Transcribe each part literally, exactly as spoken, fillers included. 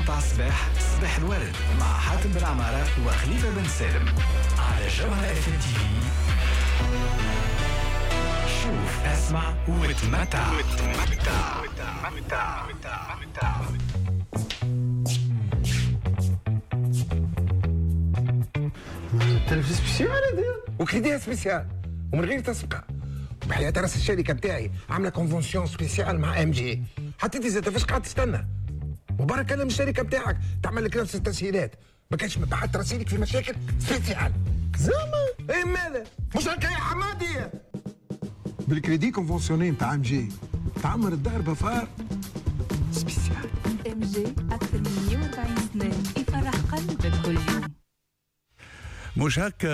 متاع الصباح، صباح الورد مع حاتم بن عمارة وخليفة بن سالم على جوهرة اف ام تي في. شوف، اسمع وتمتع. وتمتع وتمتع وتمتع. تلفزيون spécial هذا و crédit spécial ومن غير تسبقه. بحياة راس الشركة بتاعي عامله convention spéciale مع MG. حتى انت زاد فاش قاعد تستنى؟ وبارك كلم الشركة بتاعك تعمل لك نفس التسهيلات، ما كانش بعد ترسيلك في مشاكل spécial. زعما اي ماذا؟ مش هكا يا حمادي؟ بال crédit conventionné نتاع MG تعمر الدار ب affaire spécial. MG اكثر من مية وأربعين سنة يفرح قلبك كل يوم. مش هكا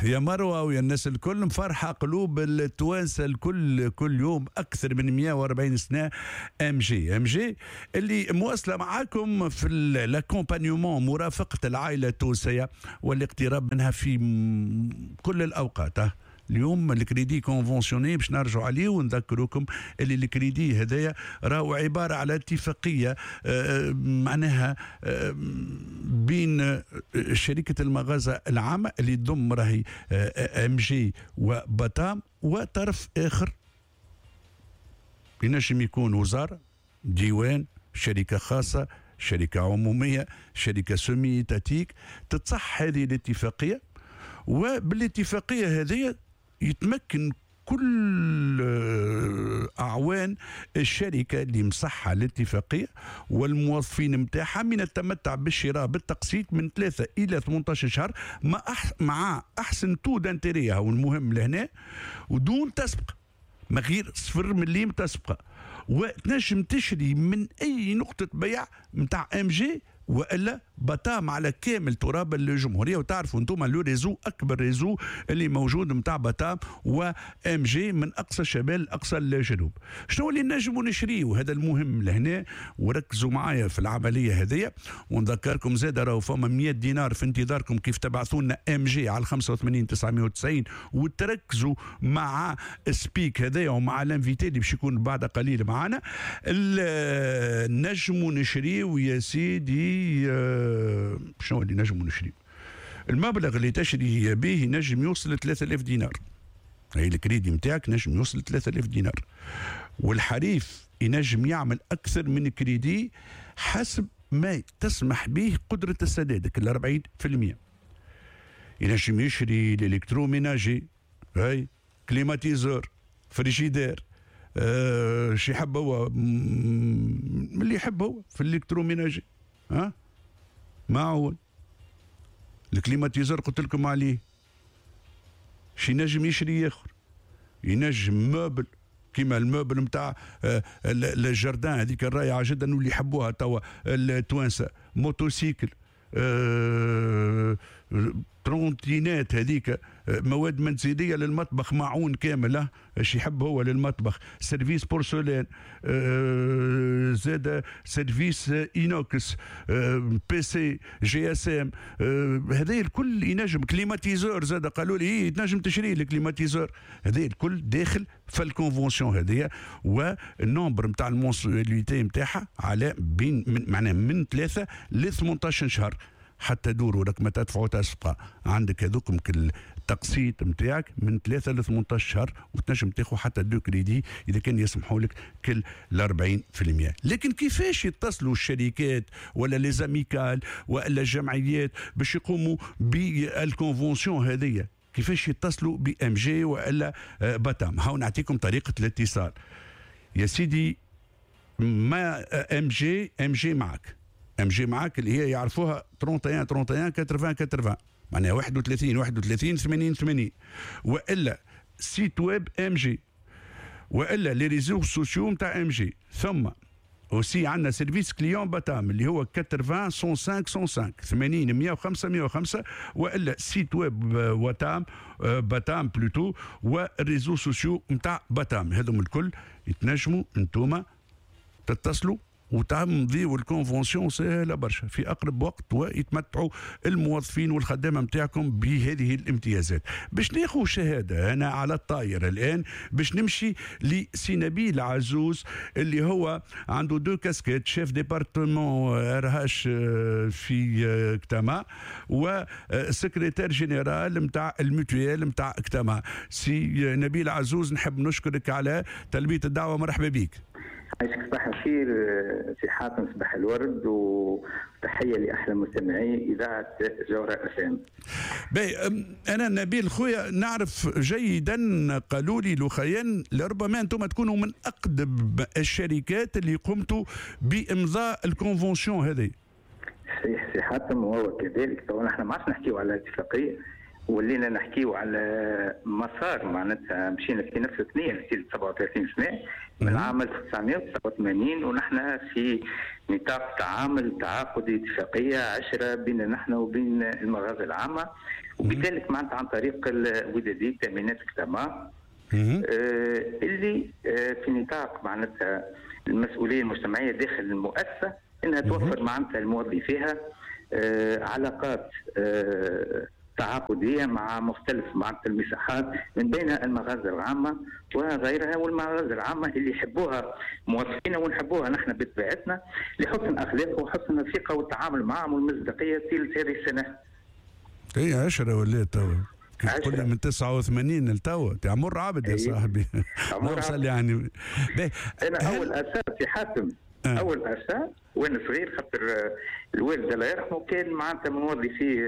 يا مروه ويا الناس الكل، مفرحة قلوب التوانسة الكل كل يوم اكثر من مية وأربعين سنة. MG MG اللي مواصلة معاكم في l'accompagnement، مرافقة العائلة التونسية والاقتراب منها في كل الاوقات. اليوم ال crédit conventionné باش نرجعوا عليه ونذكركم اللي الكريدي هذايا راهو عبارة على اتفاقية معناها بين شركة المغازه العامة اللي تضم راهي MG وباتام وطرف اخر ينجم يكون وزارة، ديوان، شركة خاصة، شركة عموميه، شركة semi-étatique. تتصح هذه الاتفاقية، وبالاتفاقيه هذه يتمكن كل أعوان الشركة اللي مصحة الاتفاقية والموظفين متاعها من التمتع بالشراء بالتقسيط من ثلاثة إلى ثمانية عشر شهر مع مع أحسن taux d'intérêt، هو المهم لهنا، ودون تسبق، ما غير صفر مليم تسبقة، وتنجم تشري من أي نقطة بيع متاع MG والا باتام على كامل تراب الجمهورية. وتعرفوا انتم le réseau اكبر réseau اللي موجود نتاع باتام و MG من اقصى الشمال لاقصى الجنوب. شنو اللي نجموا نشريه؟ وهذا المهم لهنا، وركزوا معايا في العملية هذيا. ونذكركم زاد راهو فما مية دينار في انتظاركم كيف تبعثوا لنا MG على خمسة وثمانين تسعمية وتسعين، وتركزوا مع speak هذايا ومع l'invité اللي باش يكون بعد قليل معنا. نجموا نشريه يا سيدي. شنو اللي نجموا نشري؟ المبلغ اللي تشري به ينجم يوصل ثلاثة آلاف دينار. هي الكريدي نتاعك نجم يوصل ثلاثة آلاف دينار، والحريف ينجم يعمل اكثر من كريدي حسب ما تسمح به قدرة السداد، كل أربعين بالمية. ينجم يشري l'électroménager، هاي climatiseur، frigidaire، أه شي يحب هو، اللي يحب هو في l'électroménager، ها معون ال climatiseur قلت لكم عليه. شي نجم يشري اخر، ينجم meuble كيما ال meuble نتاع ال jardin هذيك الرائعة جدا واللي يحبوها توا التوانسة، motocycle، أه trottinette هذيك، مواد منزلية للمطبخ، معون كامل اش يحب هو للمطبخ، service porcelaine، أه زاد service inox، أه PC، GSM، هذا الكل ينجم. climatiseur زاد قالوا لي إيه تنجم تشري ال climatiseur. هذا الكل داخل في ال convention هذيا، وال nombre نتاع ال mensualités نتاعها على بين من معناها من ثلاثة ل ثمانية عشر شهر حتى دوروا لك ما تدفعوا تسبقة. عندك هذوك التقسيط نتاعك من ثلاثة ل ثمانية عشر شهر، وتنجم تاخذ حتى deux crédits اذا كان يسمحوا لك كل ال أربعين بالمية. لكن كيفاش يتصلوا الشركات ولا les amicales ولا الجمعيات باش يقوموا بال convention هذيا؟ كيفاش يتصلوا ب MG والا باتام؟ هاو نعطيكم طريقة الاتصال يا سيدي. ما MG MG معك MG معاك اللي هي يعرفوها ثلاثة وثلاثين ثلاثة وثلاثين ثمانين ثمانين، معناها واحد وثلاثين واحد وثلاثين ثمانين ثمانين، والا site web MG، والا les réseaux sociaux نتاع MG. ثم aussi عندنا service client باتام اللي هو ثمانين مية وخمسة مية وخمسة، ثمانين مية وخمسة مية وخمسة، والا site web واتام باتام plutôt، وال réseaux sociaux نتاع باتام. هذم الكل يتنجموا انتوما تتصلوا وتمضيوا ال convention سهلة برشا في اقرب وقت، ويتمتعوا الموظفين والخدامه نتاعكم بهذه الامتيازات. باش ناخذ شهادة انا على الطاير الان، باش نمشي لسي نبيل عزوز اللي هو عنده deux casquettes، chef département RH في كتاما و secrétaire général نتاع ال mutuelle نتاع كتاما. سي نبيل عزوز، نحب نشكرك على تلبية الدعوه، مرحبا بك. عايشك، صباح الخير سي حاتم، صباح الورد وتحية لاحلى مستمعي اذاعة جوهره اف ام. باهي، انا نبيل خويا نعرف جيدا، قالوا لي لخيان لربما انتم تكونوا من اقدم الشركات اللي قمتوا بامضاء ال convention هذه. صحيح سي حاتم، وهو كذلك. طبعا احنا ما عادش نحكيو على اتفاقيه، ولينا نحكيو على مسار، معناتها مشينا في نفس الثنية في سبعة وثلاثين سنة من عام ألف وتسعمية وتسعة وثمانين، ونحن في نطاق تعامل تعاقدي اتفاقية عشرة بيننا نحن وبين المغازه العامه، وبذلك معناتها عن طريق الودادي تامينات كتاما آه اللي آه في نطاق معناتها المسؤولية المجتمعية داخل المؤسسة انها توفر معناتها الموظفيها آه علاقات آه تعاقديه مع مختلف معناتها المساحات، من بينها المغازل العامة وغيرها، والمغازل العامة اللي يحبوها موظفينا ونحبوها نحن بطبيعتنا لحسن اخلاقه وحسن الثقة والتعامل معهم والمصداقيه طيلة هذه السنة. اي عشرة ولات توا، قلنا من تسعة وثمانين لتوا، عمر عبد يا صاحبي. عمر عبد يعني. انا اول اساس في حاتم، آه. اول اساس وانا صغير، خاطر الوالد الله يرحمه كان معناتها من موظفي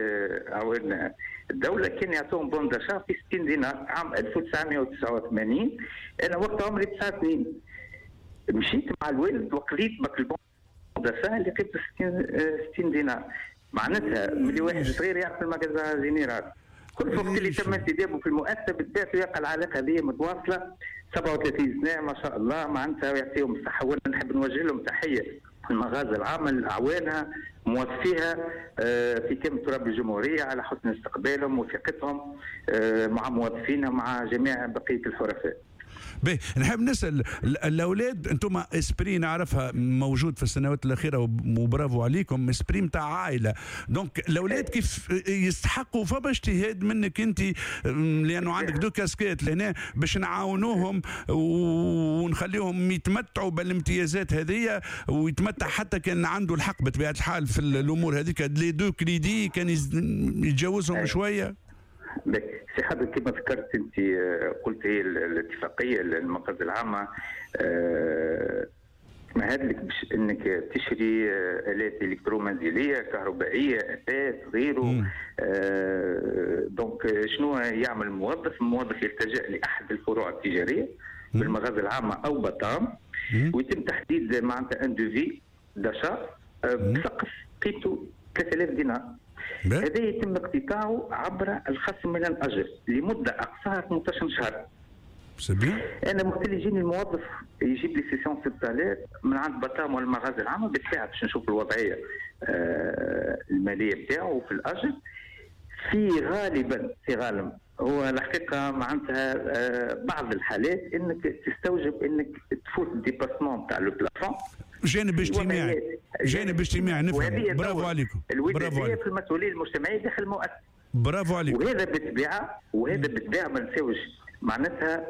اعوان الدولة، كان يعطوهم bon d'achat في ستين دينار عام ألف وتسعمية وتسعة وثمانين. انا وقت عمري تسعة سنين مشيت مع الوالد وقضيت بك ال bon d'achat اللي قيمته ستين دينار. معناتها ملي واحد صغير يعرف ال magasin général. كل وقت اللي تم انتدابه في المؤسسة بالذات يلقى العلاقة هذه متواصلة سبعة وثلاثين سنة ما شاء الله، معناتها ويعطيهم الصحة. وانا نحب نوجه لهم تحية المغازل العامة لاعوانها موظفيها في كامل تراب الجمهورية على حسن استقبالهم وثقتهم مع موظفينا مع جميع بقية الحرفاء. باهي، نحب نسال الاولاد، انتم esprit نعرفها موجود في السنوات الاخيرة وبرافو عليكم، esprit نتاع عائلة، donc الاولاد كيف يستحقوا فما اجتهاد منك انت لانه عندك deux casquettes لهنا باش نعاونوهم ونخليهم يتمتعوا بالامتيازات هذه، ويتمتع حتى كان عنده الحق بطبيعة الحال في الامور هذيك les deux crédits كان يتجاوزهم شوية. سي حاتم كما ذكرت انت، قلت هي الاتفاقية المغازل العامة تمهد لك باش انك تشري الات الكترومنزليه كهربائية اثاث غيره. آه donc شنو يعمل الموظف؟ الموظف يلتجئ لاحد الفروع التجارية بالمغازل العامة او بطام، ويتم تحديد معناتها un devis d'achat بسقف قيمته ثلاثة آلاف دينار. هذا يتم اقتطاعه عبر الخصم من الاجر لمدة اقصاها ثمنطاش شهر. انا وقت اللي يجيني الموظف يجيب لي cession ستة آلاف من عند بطام ولا المغازل العامة بالساعة باش نشوف الوضعية آه المالية بتاعه في الاجر. في غالبا في غالب هو الحقيقة معناتها آه بعض الحالات انك تستوجب انك تفوت ال dépassement تاع le plafond. جانب اجتماعي، جانب اجتماعي نفهم. برافو عليكم، برافو عليكم. في المسؤولية المجتمعية داخل المؤسسة. برافو عليكم. وهذا بالطبيعة وهذا بالطبيعة ما نساوش معناتها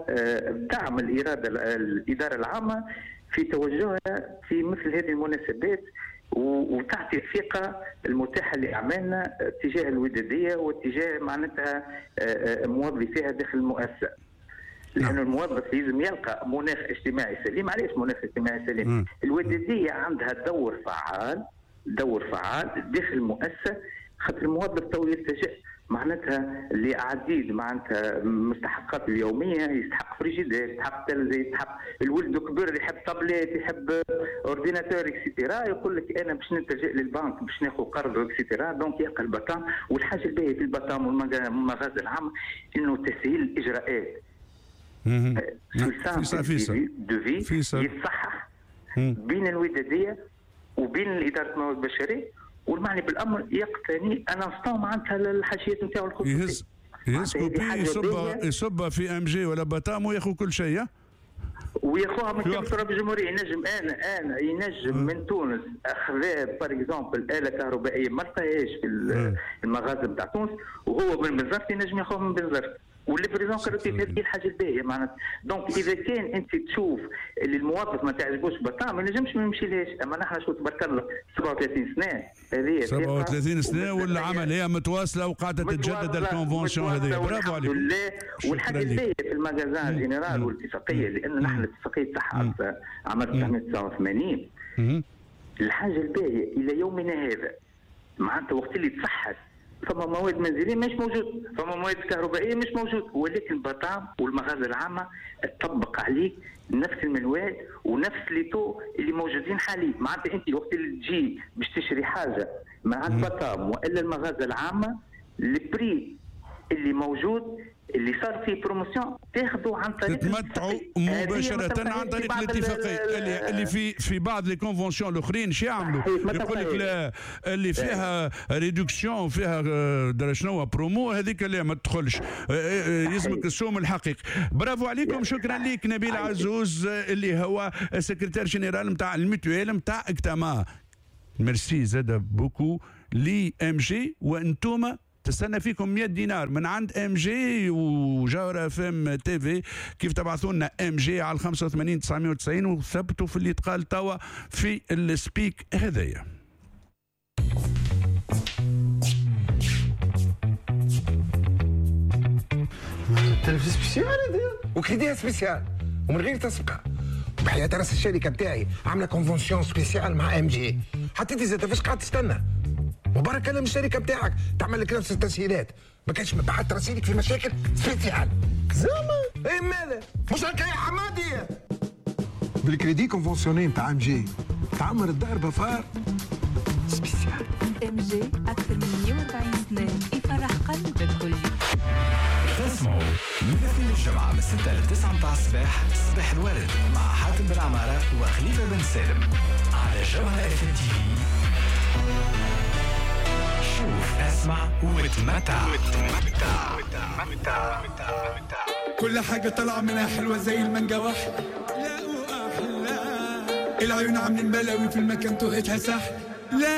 دعم الارادة الادارة العامة في توجهها في مثل هذه المناسبات، وتعطي الثقة المتاحة لاعمالنا تجاه الوداديه واتجاه معناتها موظفيها داخل المؤسسة. لأن الموظف لازم يلقى مناخ اجتماعي سليم. علاش مناخ اجتماعي سليم؟ الودادية عندها دور فعال، دور فعال داخل المؤسسة، خاطر الموظف تو يلتجئ معناتها لعديد معناتها مستحقات اليومية، يستحق فريجيدير، يستحق تلفزيون، يستحق الولد كبر يحب تابليت، يحب ordinateur et cetera، يقول لك انا باش نلتجئ للبنك باش ناخذ قرض et cetera، donc يلقى البطام. والحاجة الباهيه في البطام والمغازل العامة انه تسهيل الاجراءات. devis يتصحح بين الوداديه وبين ادارة الموارد البشرية، والمعني بالامر يقتني un instant معناتها الحاجيات نتاعو الخصوصية. يهز يهز copie يصب يصب في ام جي ولا بطام وياخذ كل شيء. وياخذ وياخوها من كامل تراب الجمهورية. ينجم انا انا ينجم من تونس اخذ par exemple اله كهربائية ما لقاهاش في المغازل نتاع تونس، وهو من بنزرت ينجم ياخذها من بنزرت، وال livraison gratuite. هذه الحاجة الباهيه معناتها. donc اذا كان انت تشوف اللي الموظف ما تعجبوش بطا ما ينجمش ما يمشيلهاش. اما نحن شو تبارك الله سبعة وثلاثين سنة، هذه سبعة وثلاثين سنة والعملية متواصلة وقاعدة تتجدد ال convention هذه. برافو عليك. والحاجة الباهيه في ال magasin général والاتفاقيه، لان نحن الاتفاقية صحت عام ألف وتسعمية وتسعة وثمانين. الحاجة الباهيه الى يومنا هذا معناتها وقت اللي تصحت فما مواد منزلية مش موجود، فما مواد كهربائية مش موجود، ولكن بطام والمغازل العامة تطبق عليك نفس المنوال ونفس les taux اللي موجودين حاليا. معناتها انت وقت اللي تجي باش تشري حاجة مع البطام والا المغازل العامة، ال prix اللي موجود اللي صار فيه promotion تاخذوا عن طريق تتمتعوا مباشرة عن طريق الاتفاقية. اللي اللي في في بعض les conventions الاخرين شو يعملوا؟ يقول لك لا، اللي فيها réduction فيها درا شنو برومو هذيك اللي ما تدخلش، يلزمك السوم الحقيقي. برافو عليكم، شكرا لك نبيل عزوز اللي هو secrétaire général نتاع ال mutuelle نتاع اكتما. ميرسي زاد beaucoup ل MG، وانتوما تستنى فيكم مية دينار من عند MG وجوهرة FM TV. كيف تبعثوا لنا MG على خمسة وثمانين تسعمية وتسعين وثبتوا في اللي تقال توا في ال speak هذايا. تلفزيون spécial هذا و crédit spécial ومن غير تسبقه. بحياة راس الشركة نتاعي عامله convention spéciale مع MG. حتى انت زاد فاش قاعد تستنى؟ وبرك كلم الشركة بتاعك تعمل لك نفس التسهيلات، ما كانش بعد ترسيلك في مشاكل spécial. زعما ايه ماذا؟ مش هكا يا حمادي؟ بال crédit conventionné نتاع MG تعمر الدار بفار spécial. MG اكثر من مية وأربعين سنة يفرح قلبك كل يوم. تسمعوا من الاثنين للجمعة من ستة ل تسعة متاع الصباح، صباح الورد مع حاتم بن عمارة وخليفة بن سالم على جوهرة FM TV. شوف، اسمع وتمتع. وتمتع وتمتع. كل حاجة طالعة منها حلوة زي المانجا واحدة، لا وأحلى العيون عاملين بلاوي في المكان توهتها سحل. لا